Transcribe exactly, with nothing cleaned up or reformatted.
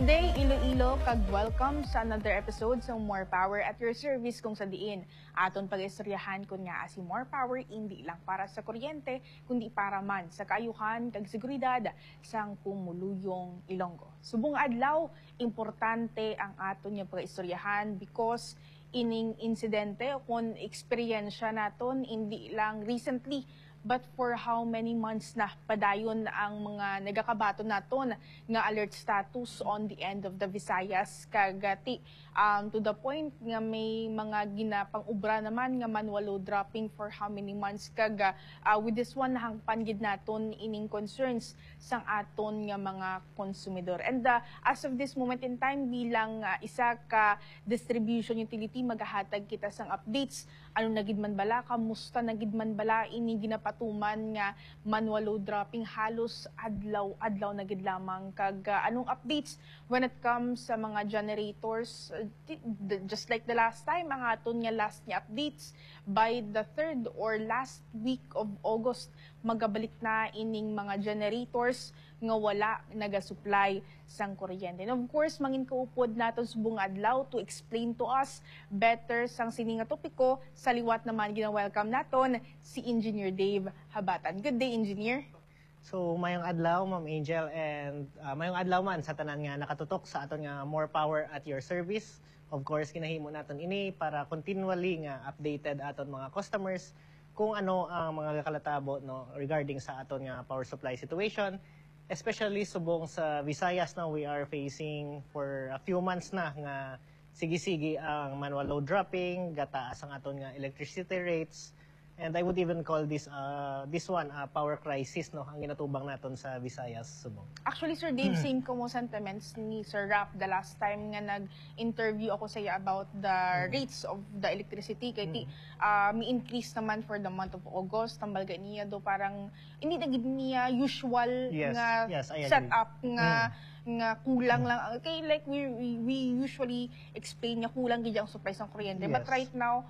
Day Iloilo, kag welcome sa another episode sa More Power at Your Service, kung sa diin aton pag-istoryahan kon ngaa si More Power indi lang para sa kuryente, kundi para man sa kaayuhan kag seguridad sang pumuluyong Ilonggo. Subong adlaw, importante ang aton nga pag-istoryahan because ining insidente o kon eksperyensya naton indi lang recently, but for how many months na padayon ang mga nagakabaton naton nga alert status on the end of the Visayas, kag, ah, ti, um, to the point nga may mga ginapang-ubra naman nga manual load dropping for how many months, kag, ah, ah, with this one, nahangpan gid naton ining concerns sang aton nga mga konsumidor. And, ah, as of this moment in time, bilang, ah, isa ka distribution utility, magahatag kita sang updates. Ano na gid man bala, kamusta na gid man bala ini ginapatuman nga manual load dropping halos adlaw-adlaw na gid lamang? Kag, ah, anong updates when it comes sa mga generators? Uh, ti-, the, just like the last time, ang aton nga last nga updates, by the third or last week of August, magabalik na ining mga generators nga wala nagasupply sang kuryente. And of course, mangin kaupod naton subong adlaw to explain to us better sang sini nga topiko. Sa liwat naman, gina-welcome naton si Engineer Dave Habatan. Good day, Engineer. So, mayong adlaw, Ma'am Angel, and, ah, mayong adlaw man sa tanan nga nakatutok sa aton nga More Power at Your Service. Of course, ginahimo naton ini para continually nga updated aton mga customers kung ano ang mga kalatabo, no, regarding sa aton nga power supply situation, especially subong sa Visayas, no, we are facing for a few months na nga sige-sige ang manual load dropping, gataas ang aton nga electricity rates, and I would even call this, uh, this one, uh, power crisis, no, ang ginatubang naton sa Visayas subong. Actually, Sir Dave, same ko mo sentiments ni Sir Rap the last time nga nag-interview ako sa iya about the rates of the electricity. Kay ti, ah, mi-increase naman for the month of August. Tambal ganiya do, parang hindi na gid niya usual Yes, nga yes, I agree. setup nga, nga kulang lang. Kay, like, we, we, we usually explain nga kulang gid ang supply sang kuryente. But Yes. right now,